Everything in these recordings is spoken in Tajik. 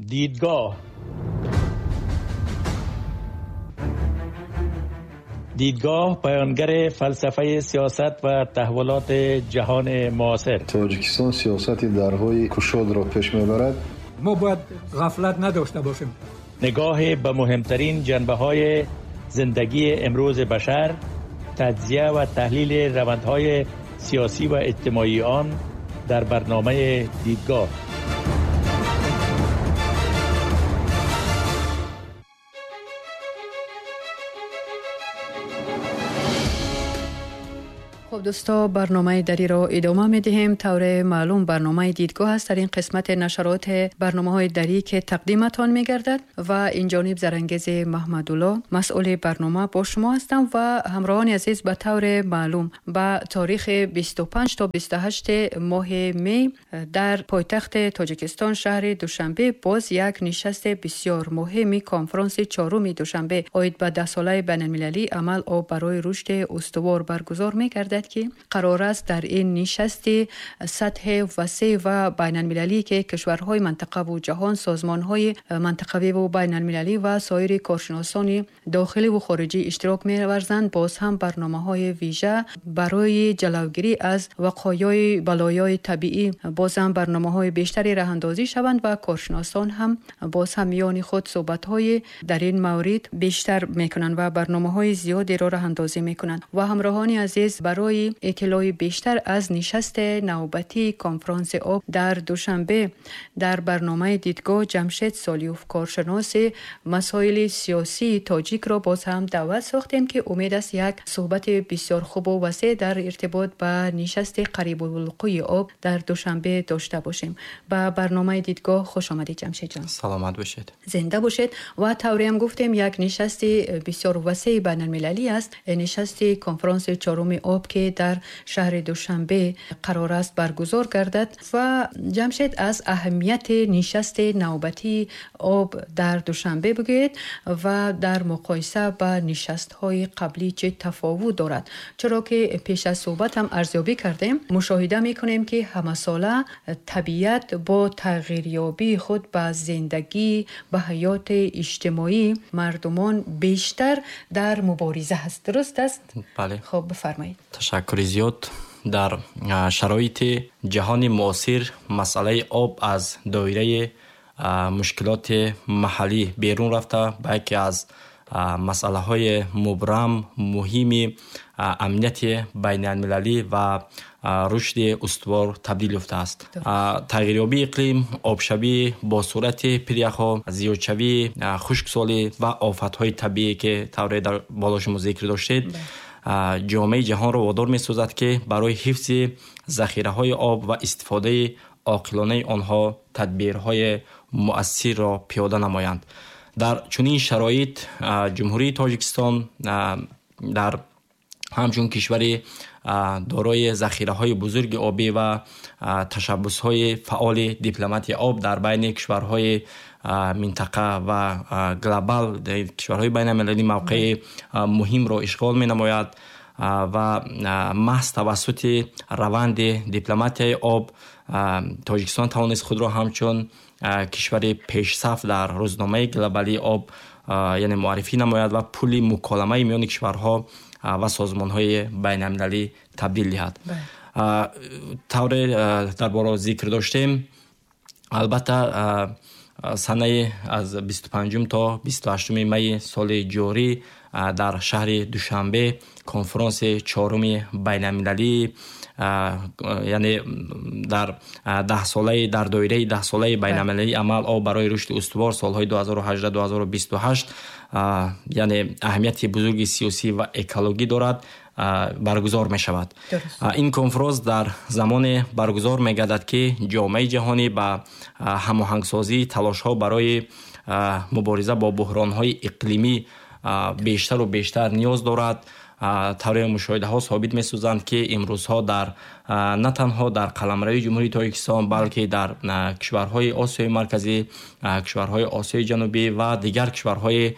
دیدگاه. دیدگاه بیانگر فلسفه سیاست و تحولات جهان معاصر. تاجیکستان سیاست درهای کشاد را پیش میبرد. ما باید غفلت نداشته باشیم. نگاه به مهمترین جنبه های زندگی امروز بشر، تجزیه و تحلیل روندهای سیاسی و اجتماعی آن در برنامه دیدگاه. خب دوستا، برنامه دری را ادامه می دهیم. طور معلوم برنامه دیدگاه است در این قسمت نشرات برنامه های دری که تقدیمتان می گردد و این جانب زرنگیز محمدالله مسئول برنامه با شما هستم و همراهان عزیز، به طور معلوم به تاریخ 25 تا 28 ماه می در پایتخت تاجیکستان شهر دوشنبه باز یک نشست بسیار مهم کنفرانس چهارم دوشنبه عاید به 10 ساله بین المللی عمل آب برای رشد استوار برگزار می گردد که قرار است در این نشست سطح وسیع و بین المللی که کشورهای منطقه و جهان، سازمانهای منطقوی و بین المللی و سایر کارشناسان داخلی و خارجی اشتراک می‌ورزند، باز هم برنامه‌های ویژه برای جلوگیری از وقایع بلایای طبیعی باز هم برنامه‌های بیشتری راه اندازی شوند و کارشناسان هم باز هم میان خود صحبت‌های در این مورد بیشتر می‌کنند و برنامه‌های زیادی را راه اندازی می‌کنند. و همراهان عزیز، برای اطلاع بیشتر از نشست نوبتی کنفرانس آب در دوشنبه در برنامه دیدگاه جمشید سالیوف کارشناس مسائل سیاسی تاجیک را باز هم دعوت ساختیم که امید است یک صحبت بسیار خوب و وسیع در ارتباط با نشست قریب الوقوع آب در دوشنبه داشته باشیم. به برنامه دیدگاه خوش آمدید جمشید جان. سلامت باشید. زنده باشید. و طوری هم گفتیم یک نشست بسیار وسیع بین المللی است، نشست کنفرانس چهارم آب که در شهر دوشنبه قرار است برگزار گردد. و جمشید، از اهمیت نشست نوبتی آب در دوشنبه بگویید و در مقایسه با نشست های قبلی چه تفاوت دارد، چرا که پیش از صحبت هم ارزیابی کردیم، مشاهده میکنیم که همه ساله طبیعت با تغییریابی خود به زندگی، به حیات اجتماعی مردمان بیشتر در مبارزه است. درست است؟ بله. خب بفرمایید. تشکر زیاد. در شرایط جهان معاصر مسئله آب از دایره مشکلات محلی بیرون رفته به یکی از مسئله های مبرم مهم امنیت بین المللی و رشد استوار تبدیل یافته است. تغییریابی اقلیم، آبشوی با سرعت پریخ‌ها، زیادشوی خشکسالی و آفت‌های طبیعی که طور در بالا شما ذکر داشتید، جامعه جهان را وادار می‌سازد که برای حفظ ذخیره‌های آب و استفاده عاقلانه آنها تدبیرهای مؤثر را پیاده نمایند. در چنین شرایط جمهوری تاجیکستان در همچون کشور دارای ذخیره‌های بزرگ آبی و تشبث‌های فعال دیپلماتی آب در بین کشورهای منطقه و گلوبال، کشورهای بین المللی موقع مهم را اشغال می‌نماید و محض توسط روند دیپلماتی آب تاجیکستان توانست خود را همچون کشور پیشصف در روزنامه گلوبالی آب یعنی معرفی نماید و پول مکالمه میان کشورها و سازمان‌های بین‌المللی تبدیل دهد. طور در بالا ذکر داشتیم، البته سنه از 25 تا 28 می سال جاری در شهر دوشنبه کنفرانس چهارم بین المللی، یعنی در 10 ساله، در دایره 10 ساله بین المللی عمل آب برای رشد استوار سالهای 2018 2028 یعنی اهمیت بزرگ سیاسی و اکولوژی دارد، برگزار می شود. این کنفرانس در زمان برگزار می گردد که جامعه جهانی به هماهنگسازی تلاش ها برای مبارزه با بحران های اقلیمی بیشتر و بیشتر نیاز دارد. طور مشاهده ها ثابت می سازند که امروزها در نه تنها در قلمرو جمهوری تاجیکستان بلکه در کشورهای آسیای مرکزی، کشورهای آسیای جنوبی و دیگر کشورهای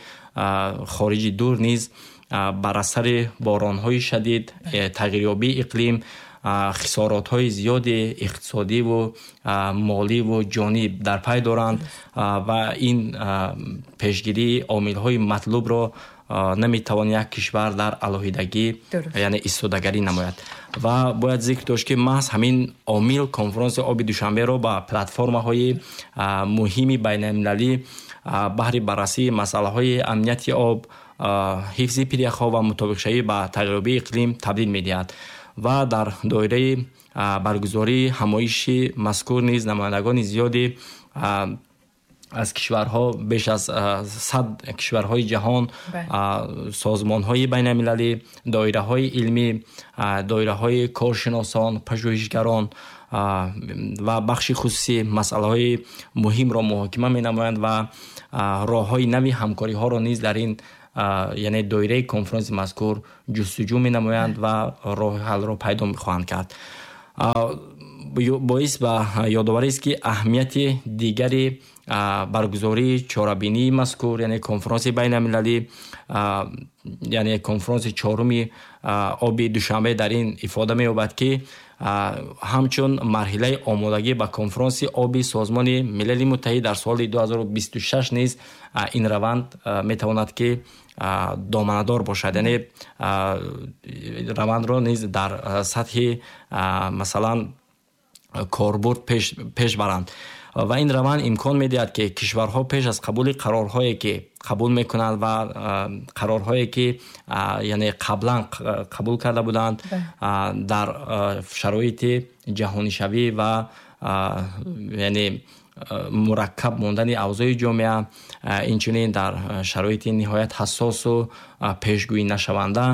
خارجی دور نیز بر اثر باران‌های شدید، تغییریابی اقلیم، Хисоротҳои зиёди иқтисодиву моливу ҷонӣ дар пай доранд ва ин пешгирии омилҳои матлубро наметавон як кишвар дар алоҳидагӣ, яъне истодагарӣ намояд. Ва бояд зикр дошт, ки маҳз ҳамин омил конфронси оби Душанберо ба платформаҳои муҳими байналмилалӣ баҳри баррасии масъалаҳои амнияти об, ҳифзи пиряхҳо ва мутобиқшавӣ ба тағйирёбии иқлим табдил медиҳад. Ва дар доираи баргузории ҳамоиши мазкур низ намояндагони зиёди аз кишварҳо, беш аз 100 кишварҳои ҷаҳон, созмонҳои байналмилалӣ, доираҳои илмӣ, доираҳои коршиносон, пажӯҳишгарон ва бахши хусусӣ масъалаҳои муҳимро муҳокима менамоянд ва роҳҳои нави ҳамкориҳоро низ дар ин, яъне доираи конфронси мазкур ҷустуҷӯ менамоянд ва роҳи ҳаллро пайдо хоҳанд кард. Боис ба ёдоварист, ки аҳамияти дигари баргузории чорабинии мазкур, яъне конфронси байналмилалӣ, яъне конфронси чоруми оби Душанбе, дар ин ифода меёбад, ки ҳамчун марҳилаи омодагӣ ба конфронси оби Созмони Милали Муттаҳид дар соли 2026 низ ин раванд метавонад, ки доманадор бошад, яъне равандро низ дар сатҳи, масалан, корбурд пеш баранд. Ва ин раванд имкон медиҳад, ки кишварҳо пеш аз қабули қарорҳое, ки қабул мекунанд, ва қарорҳое, ки, яъне қаблан қабул карда буданд, дар шароити ҷаҳонишавӣ ва, яъне мураккаб мондани авзои ҷомеа, инчунин дар шароити ниҳоят ҳассосу пешгӯӣ нашаванда,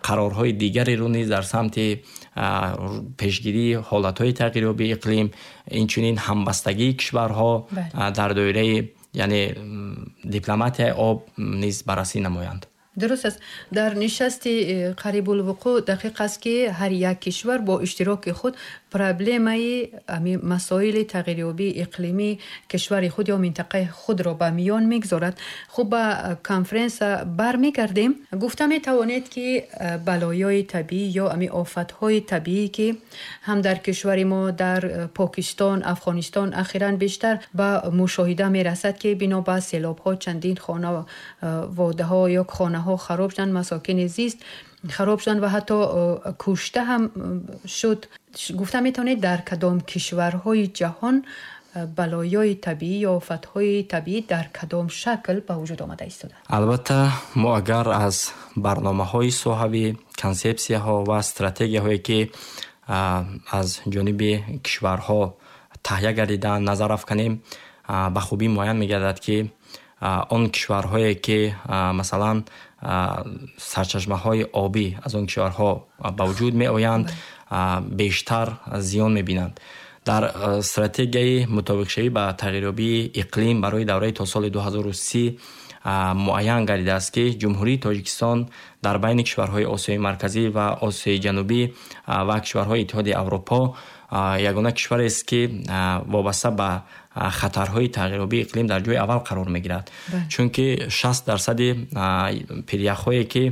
қарорҳои дигареро низ дар самти пешгирии ҳолатҳои тағйирёбии иқлим, инчунин ҳамбастагии кишварҳо дар доираи, яъне дипломатияи об низ баррасӣ намоянд. Дуруст аст. Дар нишасти қарибулвуқӯъ дақиқ аст, ки ҳар як кишвар бо иштироки худ проблемаи масоили тағйирёбии иқлимии кишвари худ ё минтақаи худро ба миён мегузорад. Хуб, ба конференса бармегардем. Гуфта метавонед, ки балоёи табиӣ ё ами офатҳои табиӣ, ки ҳам дар кишвари мо, дар Покистон, Афғонистон ахиран бештар ба мушоҳида мерасад, ки бино ба селобҳо чандин хонаводаҳо ё хонаҳо хароб шуданд, масокини зист хароб шуданд ва ҳатто кушта ҳам шуд, гуфта метавонед, дар кадом кишварҳои ҷаҳон балоёи табиӣ ё офатҳои табиӣ дар кадом шакл ба вуҷуд омада истодаанд? Албатта, мо агар аз барномаҳои соҳавӣ, консепсияҳо ва стратегияҳое, ки аз ҷониби кишварҳо таҳия гардидаанд, назар афканем, ба хубӣ муайян мегардад, ки он кишварҳое, ки, масалан, сарчашмаҳои обӣ аз он кишварҳо ба вуҷуд меоянд, бештар зиён мебинанд. Дар стратегияи мутобиқшавӣ ба тағйирёбии иқлим барои давраи то соли 2030 муайян гардидааст, ки Ҷумҳурии Тоҷикистон дар байни кишварҳои Осиёи Марказӣ ва Осиёи Ҷанубӣ ва кишварҳои Иттиҳоди Аврупо ягона кишварест, ки вобаста ба хатарҳои тағйирёбии иқлим дар ҷои аввал қарор мегирад, чунки 60 дарсади пиряхҳое, ки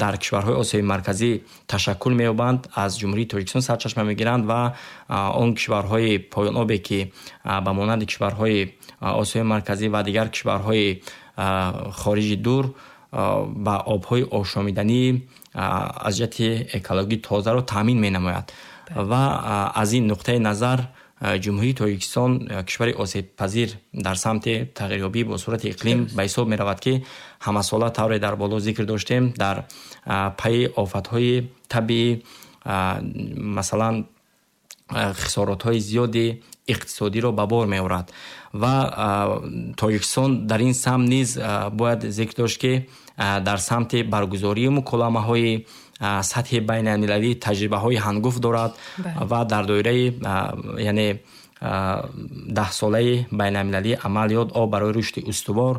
дар кишварҳои Осиёи Марказӣ ташаккул меёбанд, аз Ҷумҳурии Тоҷикистон сарчашма мегиранд ва он кишварҳои поёнобе, ки ба монанди кишварҳои Осиёи Марказӣ ва дигар кишварҳои хориҷи дур ба обҳои ошомиданӣ аз ҷиҳати экологӣ тозаро таъмин менамояд. Ва аз ин нуқтаи назар Ҷумҳурии Тоҷикистон кишвари осебпазир дар самти тағйирёбӣ бо суръати иқлим ба ҳисоб меравад, ки ҳамасола, тавре дар боло зикр доштем, дар пайи офатҳои табиӣ, масалан, хисоротҳои зиёди иқтисодиро ба бор меорад. Ва Тоҷикистон дар ин самт низ бояд зикр дошт, ки дар самти баргузории муколамаҳои сатҳи байналмилалӣ таҷрибаҳои ҳангуфт дорад ва дар доираи, яъне даҳсолаи байналмилалии амалиёт «Об барои рушди устувор»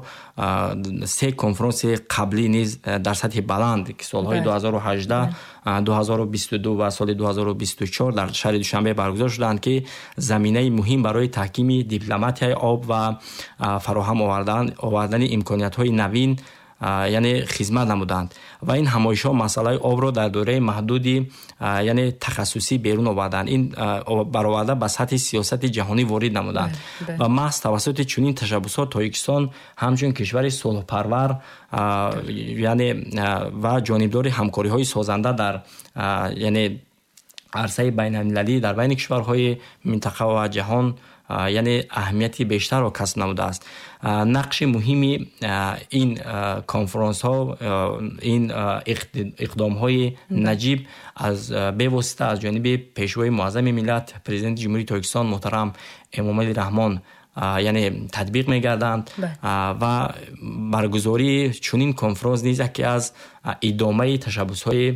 се конфронси қаблӣ низ дар сатҳи баланд, ки солҳои 2018, 2022 ва соли 2024 дар шаҳри Душанбе баргузор шуданд, ки заминаи муҳим барои таҳкими дипломатияи об ва фароҳам овардани имкониятҳои навин Яъне хизмат намуданд ва ин ҳамоишҳо масъалаи обро дар доираи маҳдуди, яъне тахассусӣ берун оварданд, ин бароварда ба сатҳи сиёсати ҷаҳонӣ ворид намуданд. Ва маҳз тавассути чунин ташаббусҳо Тоҷикистон ҳамчун кишвари сулҳпарвар, яъне ва ҷонибдори ҳамкориҳои созанда дар, яъне арсаи байналмилалӣ, дар байни кишварҳои минтақа ва ҷаҳон, яъне аҳамияти бештарро касб намудааст. Нақши муҳими ин конфронсҳо, ин иқдомҳои наҷиб аз бевосита аз ҷониби Пешвои муаззами миллат, Президенти Ҷумҳурии Тоҷикистон муҳтарам Эмомалӣ Раҳмон, яъне татбиқ мегарданд ва баргузории чунин конфронс низ яке аз идомаи ташаббусҳои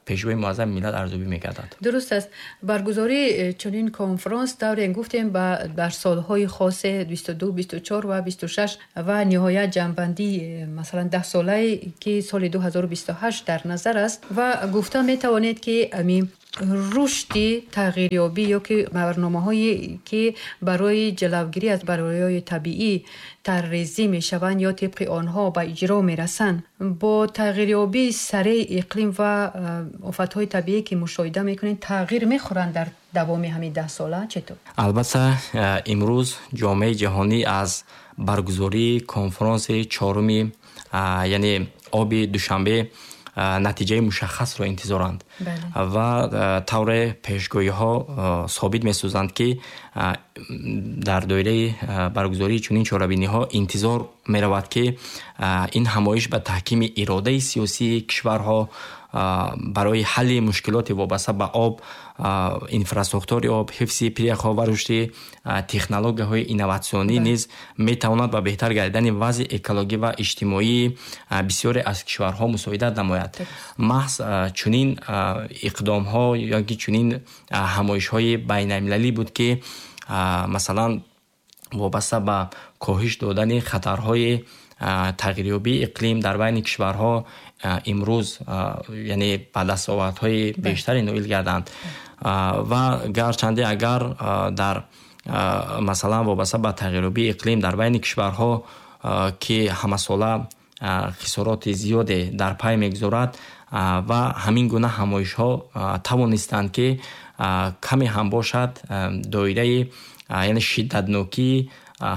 Пешвои муаззами миллат арзёбӣ мегардад. Дуруст аст. Баргузории чунин конфронс, тавре гуфтем, дар солҳои хосе 22, 24 ва 26 ва ниҳоят ҷамъбандӣ, масалан, 10-солае, ки соли 2028 дар назар аст, ва гуфта метавонед, ки ами рушди тағйирёбӣ ё ки барномаҳое, ки барои ҷалавгирӣ аз балоёи табиӣ тарҳрезӣ мешаванд ё тибқи онҳо ба иҷро мерасанд, бо тағйирёбии сареи иқлим ва офатҳои табиӣ, ки мушоҳида мекунед, тағйир мехӯранд дар давоми ҳамин 10 сола, четур? Албатта, имрӯз ҷомеаи ҷаҳонӣ аз баргузории конфронси чоруми, яъне оби Душанбе натиҷаи мушаххасро интизоранд ва тавре пешгӯиҳо собит месозанд, ки дар доираи баргузории чунин чорабиниҳо интизор меравад, ки ин ҳамоиш ба таҳкими иродаи сиёсии кишварҳо барои ҳалли мушкилоти вобаста ба об, инфрасохтори об, ҳифзи пиряхҳо ва рушди технологияҳои инноватсионӣ низ метавонад ба беҳтар гардидани вазъи экологӣ ва иҷтимоии бисёре аз кишварҳо мусоидат намояд. Маҳз чунин иқдомҳо ё ки чунин ҳамоишҳои байналмилалӣ буд, ки масалан вобаста ба коҳиш додани хатарҳои тағйирёбии иқлим дар байни кишварҳо имрӯз, яъне ба дастовардҳои бештаре ноил гарданд. Ва гарчанде агар дар масалан вобаста ба тағйирёбии иқлим дар байни кишварҳо, ки ҳамасола хисороти зиёде дар пай мегузорад, ва ҳамин гуна ҳамоишҳо тавонистанд, ки каме ҳам бошад, доираи, яъне шиддатнокии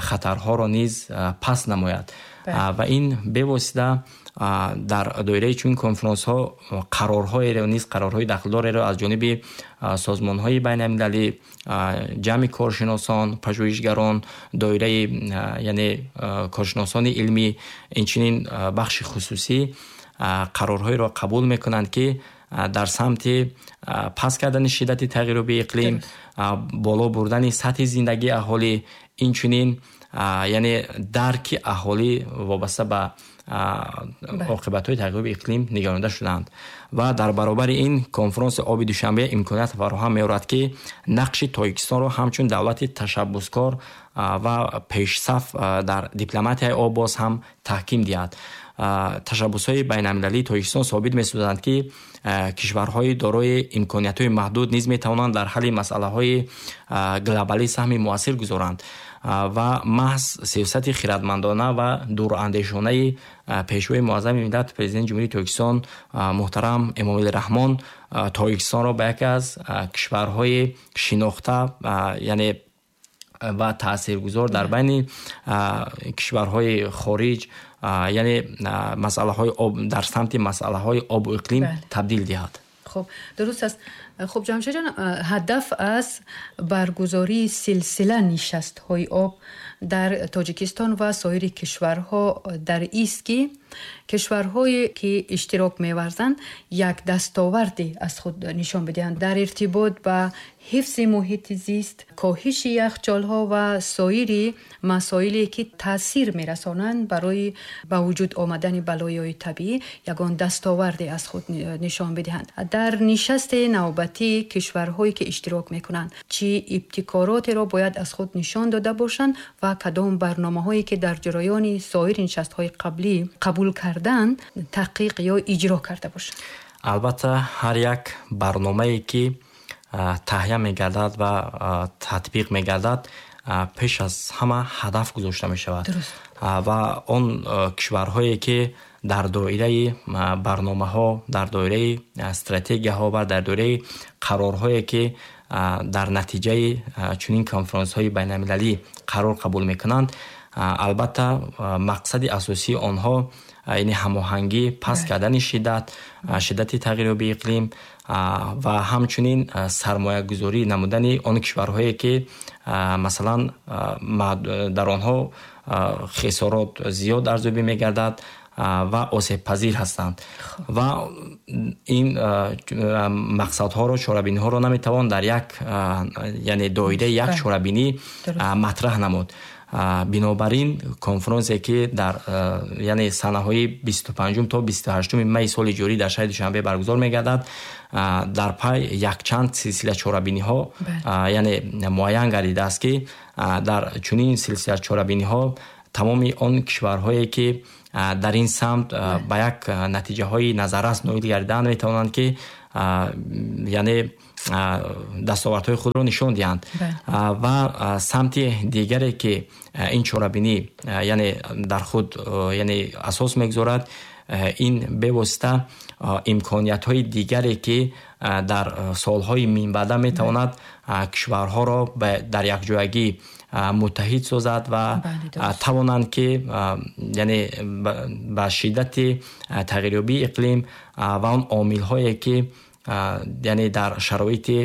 хатарҳоро низ паст намояд. Ва ин бевосита дар доираи чунин конфронсҳо қарорҳоеро низ, қарорҳои дахлдореро аз ҷониби созмонҳои байналмилалӣ, ҷамъи коршиносон, пажӯҳишгарон, доираи, яъне коршиносони илмӣ, инчунин бахши хусусӣ қарорҳоеро қабул мекунанд, ки дар самти паст кардани шиддати тағйирёбии иқлим, боло бурдани сатҳи зиндагии аҳолӣ, инчунин, яъне дарки аҳолӣ вобаста ба оқибатҳои тағйирёбии иқлим нигаронда шудаанд. Ва дар баробари ин конфронси оби Душанбе имконият фароҳам меорад, ки нақши Тоҷикистонро ҳамчун давлати ташаббускор ва пешсаф дар дипломатияи об боз ҳам таҳким диҳад. Ташаббусҳои байналмилалии Тоҷикистон собит месозанд, ки кишварҳои дорои имкониятҳои маҳдуд низ метавонанд дар ҳалли масъалаҳои глобалӣ саҳми муассир гузоранд. Ва маҳз сиёсати хирадмандона ва дурандешонаи Пешвои муаззами миллат, Президенти Ҷумҳурии Тоҷикистон муҳтарам Эмомалӣ Раҳмон Тоҷикистонро ба яке аз кишварҳои шинохта, яъне ва таъсиргузор дар байни кишварҳои хориҷ, яъне масъалаҳои об, дар самти масъалаҳои обу иқлим табдил диҳад. Хуб, дуруст аст. Хуб, Ҷамшедҷон, ҳадаф аз баргузории силсила нишастҳои об дар Тоҷикистон ва соири кишварҳо дар ист, ки кишварҳое, ки иштирок меварзанд, як дастоварде аз худ нишон бидиҳанд дар иртибот ба ҳифзи муҳити зист, коҳиши яхчолҳо ва соири масоиле, ки таъсир мерасонанд барои ба вуҷуд омадани балоёи табиӣ, ягон дастоварде аз худ нишон бидиҳанд. Дар нишасти навбатӣ кишварҳое, ки иштирок мекунанд, чӣ ибтикоротеро бояд аз худ нишон дода бошанд ва кадом барномаҳое, ки дар ҷараёни соири нишастҳои қаблӣ қабул карданд, таҳқиқ ё иҷро карда бошанд? Албатта, ҳар як барномае, ки таҳия мегардад ва татбиқ мегардад, пеш аз ҳама ҳадаф гузошта мешавад. Ва он кишварҳое ки дар доираи барномаҳо, дар доираи стратегияҳо ва дар доираи қарорҳое ки дар натиҷаи чунин конфронсҳои байналмилалӣ қарор қабул мекунанд, албатта мақсади асосии онҳо яъне ҳамоҳангӣ, паст кардани шиддати тағйирёбии иқлим ва ҳамчунин сармоягузорӣ намудани он кишварҳое ки масалан дар онҳо хисорот зиёд арзёбӣ мегардад ва осебпазир ҳастанд. Ва ин мақсадҳоро, чорабиниҳоро наметавон дар як, яъне доираи як чорабинӣ матраҳ намуд. Бинобар ин конфронсе ки дар яъне санаҳои 25 то 28 май соли ҷорӣ дар шаҳри Душанбе баргузор мегардад, дар пай якчанд силсила чорабиниҳо яъне муайян гардидааст ки дар чунин силсила чорабиниҳо тамоми он кишварҳое ки дар ин самт ба як натиҷаҳои назаррас ноил гардидаанд, метавонанд ки яъне дастовардҳои худро нишон диҳанд. Ва самти дигаре ки ин чорабинӣ яъне дар худ яъне асос мегузорад, ин бевосита имкониятҳои дигаре ки дар солҳои минбаъда метавонад кишварҳоро дар якҷоягӣ муттаҳид созад ва тавонанд ки яъне ба шиддати тағйирёбии иқлим ва он омилҳое ки яъне дар шароити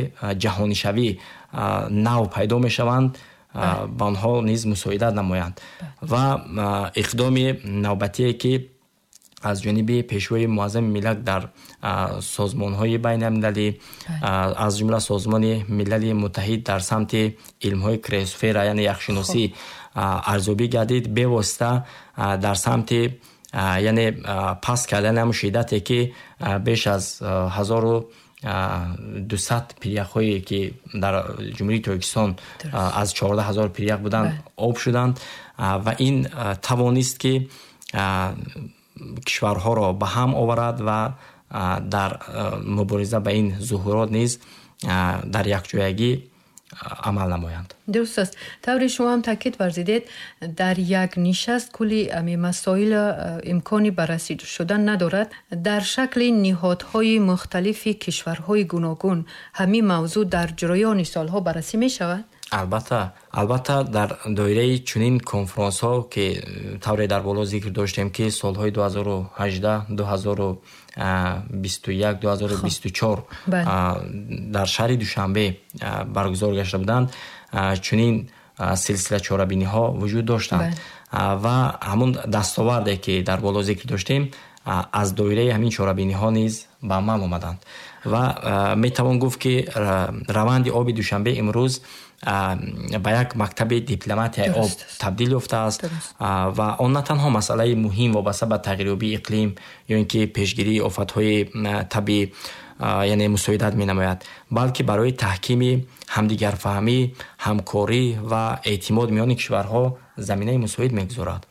ҷаҳонишавӣ нав пайдо мешаванд, ба онҳо низ мусоидат намоянд. Ва иқдоми навбатие ки аз ҷониби Пешвои Муаззами Миллат дар созмонҳои байналмилалӣ, аз ҷумла Созмони Милали Муттаҳид дар самти илмҳои криосфера, яъне яхшиносӣ арзёбӣ гардид, бевосита дар самти яъне паст кардани ҳамун шиддате ки беш аз 1200 пиряхҳое ки дар Ҷумҳурии Тоҷикистон аз 14 000 пирях буданд, об шуданд. Ва ин тавонист ки кишварҳоро ба ҳам оварад ва дар мубориза ба ин зуҳурот низ дар якҷоягӣ амал намоянд. Дуруст аст. Тавре шумо ҳам таъкид варзидед, дар як нишаст кулли ами масоил имкони баррасӣ шудан надорад. Дар шакли ниҳодҳои мухталифи кишварҳои гуногун ҳамин мавзӯъ дар ҷараёни солҳо баррасӣ мешавад? Албатта, албатта, дар доираи чунин конфронсҳо ки тавре дар боло зикр доштем ки солҳои 2018, 2021, 2024 дар шаҳри Душанбе баргузор гашта буданд, чунин силсила чорабиниҳо вуҷуд доштанд ва ҳамун дастоварде ки дар боло зикр доштем, аз доираи ҳамин чорабиниҳо низ ба амал омаданд. Ва метавон гуфт ки раванди оби Душанбе имрӯз ба як мактаби дипломатияи об табдил ёфтааст ва он на танҳо масъалаи муҳим вобаста ба тағйирёбии иқлим ё ин ки пешгирии офатҳои табиӣ яъне мусоидат менамояд, балки барои таҳкими ҳамдигарфаҳмӣ, ҳамкорӣ ва эътимод миёни кишварҳо заминаи мусоид мегузорад.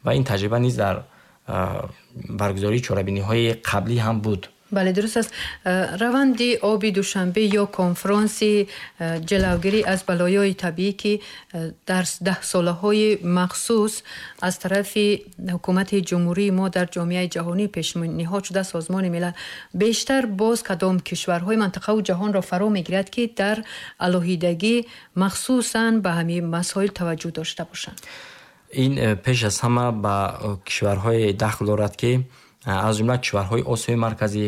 Ва ин таҷриба низ дар баргузории чорабиниҳои қаблӣ ҳам буд. Бале, дуруст аст. Раванди оби Душанбе ё конфронси ҷилавгирӣ аз балоёи табиӣ ки дар даҳсолаҳои махсус аз тарафи ҳукумати ҷумҳурии мо дар ҷомеаи ҷаҳонӣ пешниҳод шуда, Созмони Милал, бештар боз кадом кишварҳои мантақаву ҷаҳонро фаро мегирад, ки дар алоҳидагӣ махсусан ба ҳамин масоил таваҷҷӯҳ дошта бошанд? Ин пеш аз ҳама ба кишварҳое дахл дорад ки аз ҷумла кишварҳои Осиёи Марказӣ,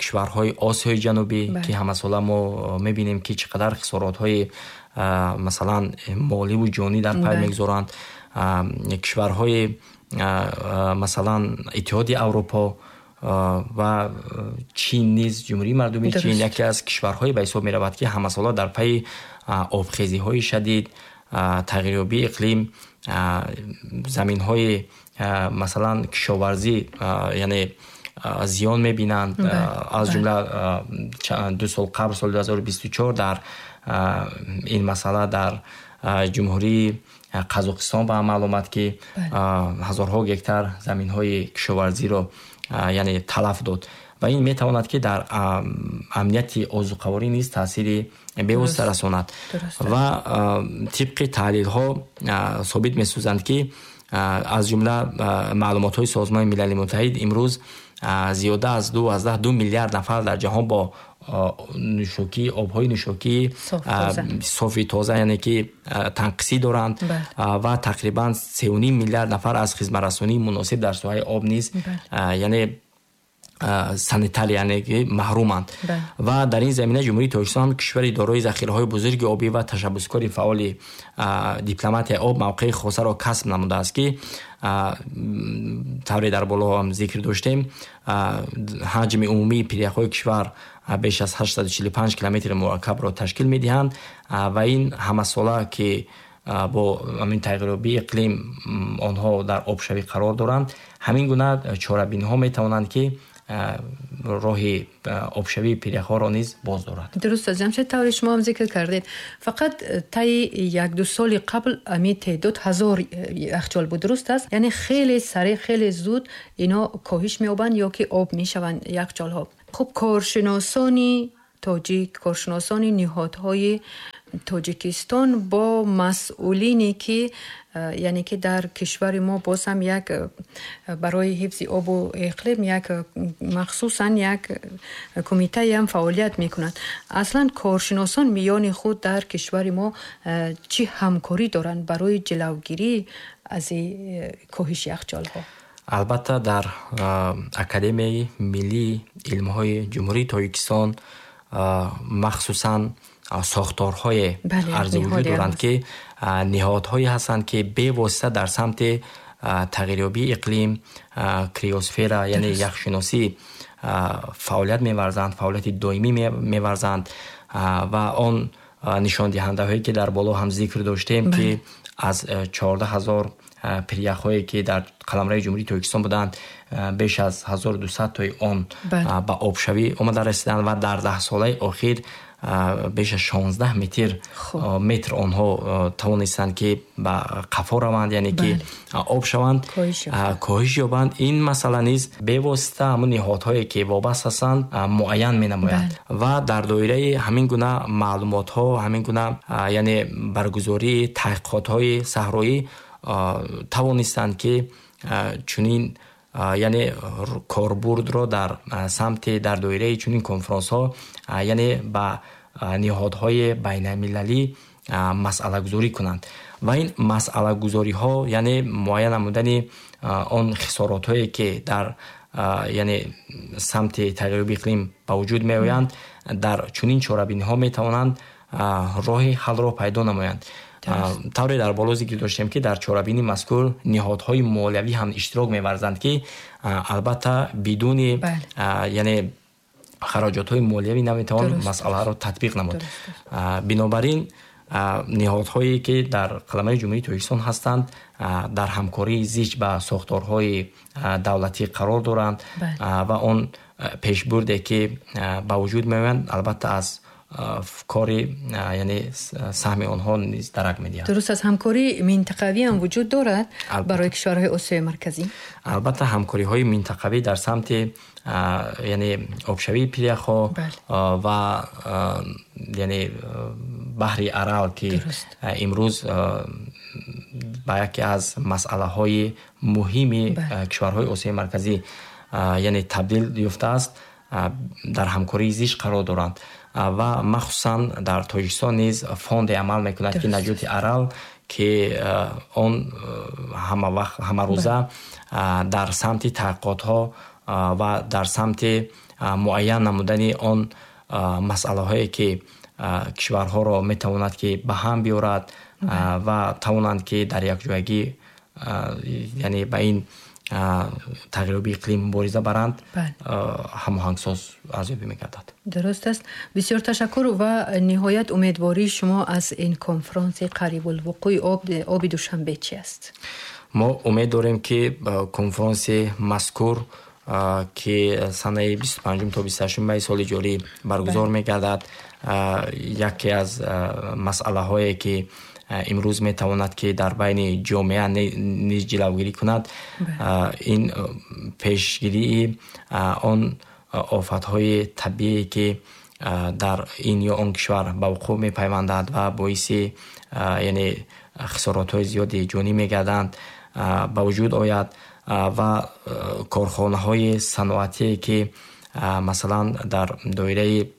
кишварҳои Осиёи Ҷанубӣ, ки ҳамасола мо мебинем ки чӣ қадар хисоротҳои масалан моливу ҷонӣ дар пай мегузоранд, кишварҳои масалан Иттиҳоди Аврупо ва Чин низ. Ҷумҳурии Мардумии Чин яке аз кишварҳое ба ҳисоб меравад, ки ҳамасола дар пайи обхезиҳои шадид, тағйирёбии иқлим, заминҳои масалан кишоварзӣ яъне зиён мебинанд. Аз ҷумла 2 сол қабл, соли 2024, дар ин масъала дар Ҷумҳурии Қазоқистон ба амал омад, ки ҳазорҳо гектар заминҳои кишоварзиро яъне талаф дод. Ва ин метавонад, ки дар амнияти озуқаворӣ низ таъсири бевосита расонад. Ва тибқи таҳлилҳо собит месозанд, ки аз ҷумла маълумотҳои Созмони Милали Муттаҳид, имрӯз зиёда аз 2,2 миллиард нафар дар ҷаҳон бо нӯшокӣ, обҳои нӯшокии софи тоза, яъне ки танқисӣ доранд ва тақрибан 3,5 миллиард нафар аз хизматрасонии муносиб дар соҳаи об низ, яъне санитар, яъне ки маҳруманд. Ва дар ин замина Ҷумҳурии Тоҷикистон, кишвари дорои захираҳои бузурги обӣ ва ташаббускори фаъоли дипломатияи об, мавқеи хосаро касб намудааст, ки тавре дар боло ҳам зикр доштем, ҳаҷми умумии пиряхҳои кишвар беш аз 845 километри мураккабро ташкил медиҳанд. Ва ин ҳамасола, ки бо ҳамин тағйирёбии иқлим онҳо дар обшавӣ қарор доранд, ҳамин гуна чорабиниҳо метавонанд, ки роҳи обшавии пиряхҳоро низ боз дорад. Дуруст аст, Ҷамшед, тавре шумо ҳам зикр кардед, фақат таи 1-2 соли қабл ами теъдод 1000 яхчол буд, дуруст аст? Яъне хеле сареъ, хеле зуд ино коҳиш меёбанд ё ки об мешаванд яхчолҳо. Хуб, коршиносони тоҷик, коршиносони ниҳодҳои Тоҷикистон бо масъулине, ки яъне ки дар кишвари мо боз ҳам як барои ҳифзи обу иқлим як махсусан як кумитае ҳам фаъолият мекунад, аслан коршиносон миёни худ дар кишвари мо чӣ ҳамкорӣ доранд барои ҷилавгирӣ аз коҳиши яхчолҳо? Албатта, дар Академияи миллии илмҳои Ҷумҳурии Тоҷикистон махсусан сохторҳое арзи вуҷуд доранд, ки ниҳодҳое ҳастанд, ки бевосита дар самти тағйирёбии иқлим, криосфера, яъне яхшиносӣ фаъолият меварзанд, фаъолияти доимӣ меварзанд. Ва он нишондиҳандаҳое, ки дар боло ҳам зикр доштем, ки аз 14 000 пиряхҳое, ки дар қаламрави Ҷумҳурии Тоҷикистон буданд, беш аз 1200 тои он ба обшавӣ омада расиданд ва дар 10 солаи охир беш аз 16 метр онҳо тавонистанд, ки ба қафо раванд, яъне ки об шаванд, коҳиш ёбанд. Ин масъала низ бевосита ҳамун ниҳодҳое, ки вобаст ҳастанд, муайян менамояд. Ва дар доираи ҳамин гуна маълумотҳо, ҳамин гуна, яъне баргузории таҳқиқотҳои саҳроӣ тавонистанд, ки чунин, яъне корбурдро дар самти, дар доираи чунин конфронсҳо, яъне ба ниҳодҳои байналмилалӣ масъалагузорӣ кунанд. Ва ин масъалагузориҳо, яъне муайян намудани он хисоротҳое, ки дар, яъне самти тағйирёби иқлим ба вуҷуд меоянд, дар чунин чорабиниҳо метавонанд роҳи ҳаллро пайдо намоянд. Тавре дар боло зикр доштем, ки дар чорабини мазкур ниҳодҳои молиявӣ ҳам иштирок меварзанд, ки албатта бидуни, яъне хароҷотҳои молиявӣ наметавон масъаларо татбиқ намуд. Бинобар ин ниҳодҳое, ки дар қаламрави Ҷумҳурии Тоҷикистон ҳастанд, дар ҳамкории зич ба сохторҳои давлатӣ қарор доранд ва он пешбурде, ки ба вуҷуд меоянд, албатта аз кори, яъне саҳми онҳо низ дарак медиҳад. Дуруст аст, ҳамкории минтақавӣ ҳам вуҷуд дорад барои кишварҳои Осиёи Марказӣ? Албатта, ҳамкориҳои минтақавӣ дар самти, яъне обшавии пиряхҳо ва, яъне баҳри Арал, ки имрӯз ба яке аз масъалаҳои муҳими кишварҳои Осиёи Марказӣ, яъне табдил ёфтааст, дар ҳамкории зич қарор доранд. Ва махсусан дар Тоҷикистон низ фонде амал мекунад, ки Наҷоти Арал, ки он ҳамавақт, ҳамарӯза дар самти таҳқиқотҳо ва дар самти муайян намудани он масъалаҳое, ки кишварҳоро метавонад, ки ба ҳам биёрад ва тавонанд, ки дар якҷоягӣ, яъне ба ин тағйирёбии иқлим мубориза баранд, ҳамоҳангсоз арзёбӣ мегардад. Дуруст аст, бисёр ташаккур. Ва ниҳоят, умедвории шумо аз ин конфронси қарибулвуқӯи оби Душанбе чи аст? Мо умед дорем, ки конфронси мазкур, ки санаи 25 то 28 майи соли ҷорӣ баргузор мегардад, яке аз масъалаҳое, ки имрӯз метавонад, ки дар байни ҷомеа низ ҷилавгирӣ кунад, ин пешгирии он офатҳои табиие ки дар ин ё он кишвар ба вуқӯъ мепайвандад ва боиси яъне хисоротҳои зиёди ҷонӣ мегарданд, ба вуҷуд ояд ва корхонаҳои саноатие ки масалан дар доираи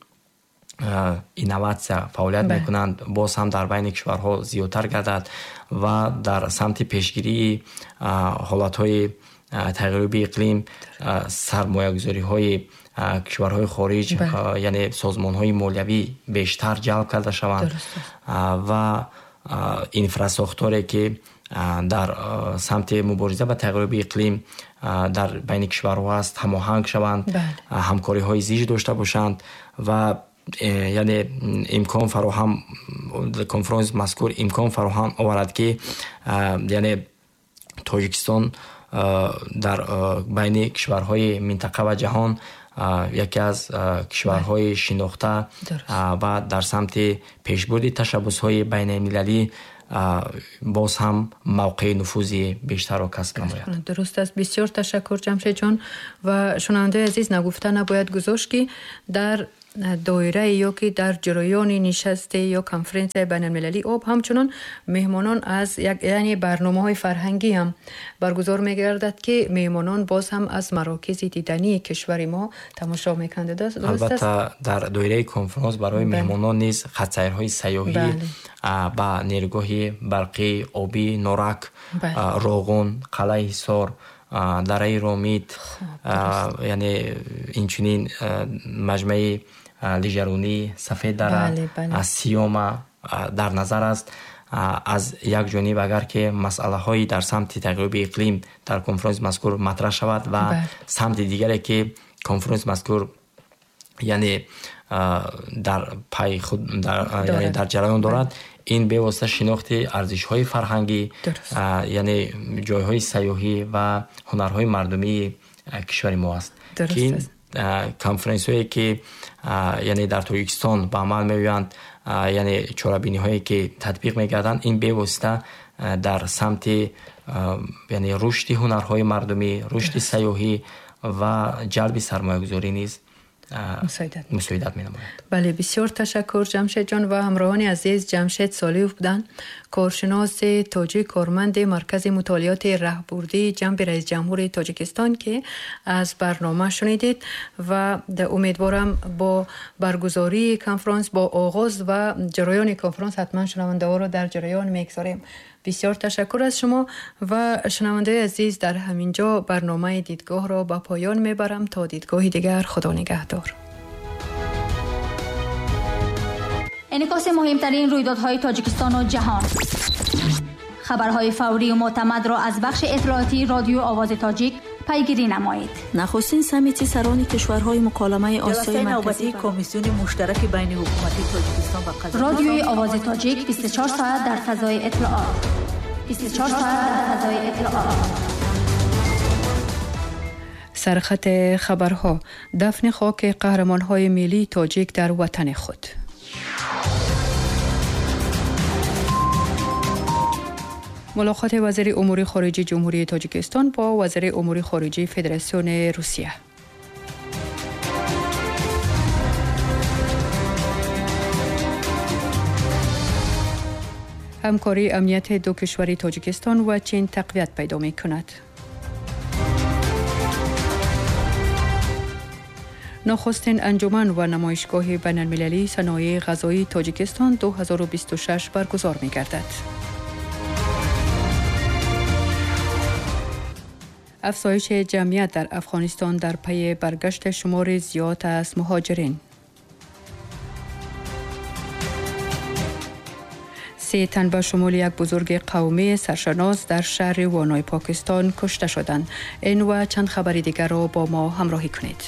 инноватсия фаъолият мекунанд, боз ҳам дар байни кишварҳо зиёдтар гардад ва дар самти пешгирии ҳолатҳои тағйирёбии иқлим сармоягузориҳои кишварҳои хориҷ, яъне созмонҳои молиявӣ бештар ҷалб карда шаванд ва инфрасохторе ки дар самти мубориза ба тағйирёбии иқлим дар байни кишварҳо аст, ҳамоҳанг шаванд, ҳамкориҳои зич дошта бошанд ва яъне имкон фароҳам, конфронси мазкур имкон фароҳам оварад ки яъне Тоҷикистон дар байни кишварҳои минтақа ва ҷаҳон яке аз кишварҳои шинохта ва дар самти пешбурди ташаббусҳои байналмилалӣ боз ҳам мавқеи нуфузи бештарро касб намояд. Дуруст аст. Бисёр ташаккур, Ҷамшедҷон. Ва шунавандаи азиз, нагуфта набояд гузошт ки дар доираи ё ки дар ҷараёни нишасте ё конференсияи байналмилалии об ҳамчунон меҳмонон аз яъне барномаҳои фарҳангӣ ҳам баргузор мегардад ки меҳмонон боз ҳам аз марокизи дидании кишвари мо тамошо мекунанд. Албатта, дар доираи конференс барои меҳмонон низ хатсайрҳои сайёҳӣ ба нерӯгоҳи барқии обӣ Норак, Роғун, Қалъаи Ҳисор, дараи Ромит, яъне инчунин маҷмӯаи лижаронӣ Сафеддара, Сиёма дар назар аст. Аз як ҷониб, агар ки масъалаҳои дар самти тағйирёбии иқлим дар конфронси мазкур матраҳ шавад ва самти дигаре ки конфронси мазкур яъне дар пайи худ дар ҷараён дорад, ин бевосита шинохти арзишҳои фарҳангӣ, яъне ҷойҳои сайёҳӣ ва ҳунарҳои мардумии кишвари мо аст ки конференсияҳое ки яъне дар Тоҷикистон ба амал меоянд, яъне чорабиниҳое ки татбиқ мегарданд, ин бевосита дар самти яъне рушди ҳунарҳои мардумӣ, рушди сайёҳӣ ва ҷалби сармоягузорӣ низ мусоидат менамояд. Бале, бисёр ташаккур, Ҷамшедҷон. Ва ҳамроҳони азиз, Ҷамшед Солиев буданд, коршиноси тоҷик, корманди Маркази мутолиоти раҳбурдии ҷанби раисҷумҳури Тоҷикистон ки аз барнома шунидед ва умедворам бо баргузории конфронс, бо оғоз ва ҷараёни конфронс ҳатман шунавандаҳоро дар ҷараён мегузорем. Бисёр ташаккур аз шумо ва шунавандаи азиз, дар ҳамин ҷо барномаи дидгоҳро ба поён мебарам. То дидгоҳи дигар, Худо нигаҳдор. انعکاس مهمترین رویدادهای تاجیکستان و جهان، خبرهای فوری و معتمد را از بخش اطلاعاتی رادیو آواز تاجیک پیگیری نمایید. نخستین سمیتی سران کشورهای مکالمه آسیای مرکزی، کمیسیون مشترک بین حکومتی تاجیکستان و قزاقستان. رادیوی آواز تاجیک 24 ساعت در فضای اطلاعات. 24 ساعت در فضای اطلاعات. سرخط خبرها: دفن خاک قهرمان‌های ملی تاجیک در وطن خود. ملاقات وزیر امور خارجه جمهوری تاجیکستان با وزیر امور خارجه فدراسیون روسیه. همکاری امنیت دو کشور تاجیکستان و چین تقویت پیدا می کند. نخستین انجمن و نمایشگاه بین‌المللی صنایع غذایی تاجیکستان 2026 برگزار می گردد. افزایش جمعیت در افغانستان در پی برگشت شمار زیاد از مهاجرین. 3 تن به شمول یک بزرگ قومی سرشناس در شهر وانای پاکستان کشته شدند. این و چند خبر دیگر را با ما همراهی کنید.